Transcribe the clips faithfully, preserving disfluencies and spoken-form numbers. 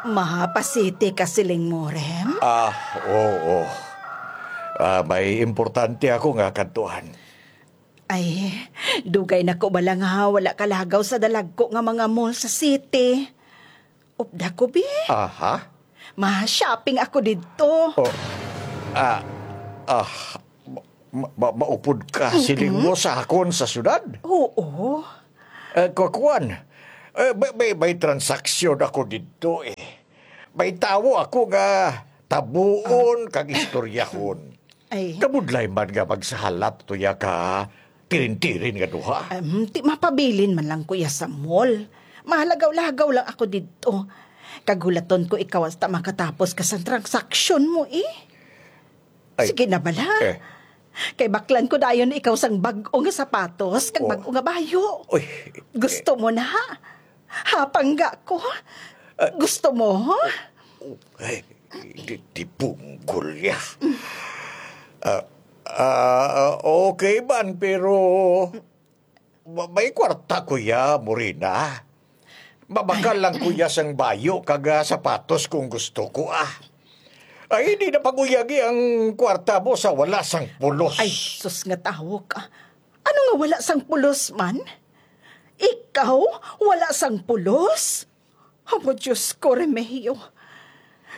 Mapa City ka siling mo, Rem? Ah, oo. Ah, may importante ako nga kadtuan. Ay, dugay na ko bala nga wala kalagaw sa dalagko nga mga mall sa city. Upda ko, bi. Aha. Ma-shopping ako didto. Oh, ah, ah, ma-, ma-, maupod ka siling mo sa akon sa syudad? Oo. Eh, kakuan, eh, may, may, may transaksyon ako didto, eh. May tawo ako nga tabuon kag istoryahon. Ay. Kabudlay man nga magsahalat to ya ka tirin-tirin nga duha. Em, ti mapabilin man lang ko ya sa mall. Mahalagaw-lagaw lang ako didto. Kag hulaton ko ikaw hasta makatapos ka sang transaksyon mo, eh. Ay. Sige na bala. Eh. Kay baklan ko dayon ikaw sang bag-o nga sapatos kag Oh. bag-o nga bayo. Uy. Gusto mo na? Hapangga ko? Ah. Gusto mo? Ay, di, di punggol ya. Ah, ah, okay man, pero ma-, may kwarta ko ya, Morina. Mabakal lang ko ya sang bayo kag, ah, sapatos kung gusto ko, ah. Ay, di na pag-uyagi ang kwarta mo sa wala sang pulos. Ay, sus nga tawo ka. Ano nga wala sang pulos man? Ikaw wala sang pulos? Amo, Diyos ko, Remehio.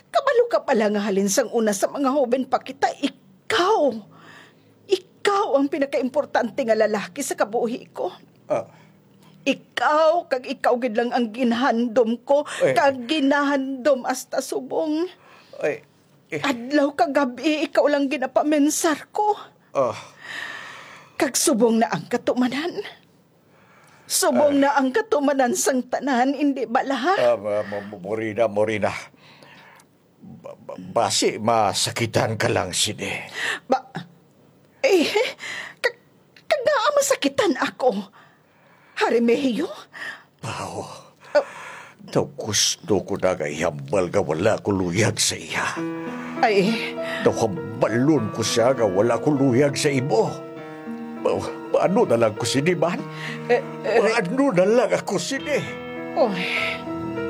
Kabalo ka pala nga halin sang una sa mga hoben pa kita, ikaw. Ikaw ang pinakaimportante nga lalaki sa kabuhi ko. Ah. Ikaw, kag ikaw gid lang ang ginahandom ko, Eh. kag ginahandom hasta subong. Ay, eh. Adlaw kag gab-i, ikaw lang ginapamensar ko. Ah. Kag subong na ang katumanan. Subong Ah. na ang katumanan sang tanan, indi bala? Ah, ma-, ma-, Morina, Morina. Ba-, ba-, basi masakitan ka lang sini. Ba-, eh, ka-, kag ngaa masakitan ako? Remehio? Pao, Ah. daw gusto ko na nga ihambal nga wala ko luyag sa iya. Ay. Daw hambalon ko siya nga wala ko luyag sa imo. Pa-, paano na lang ko sini man? Eh, eh, Paano na lang ako sini? Oy.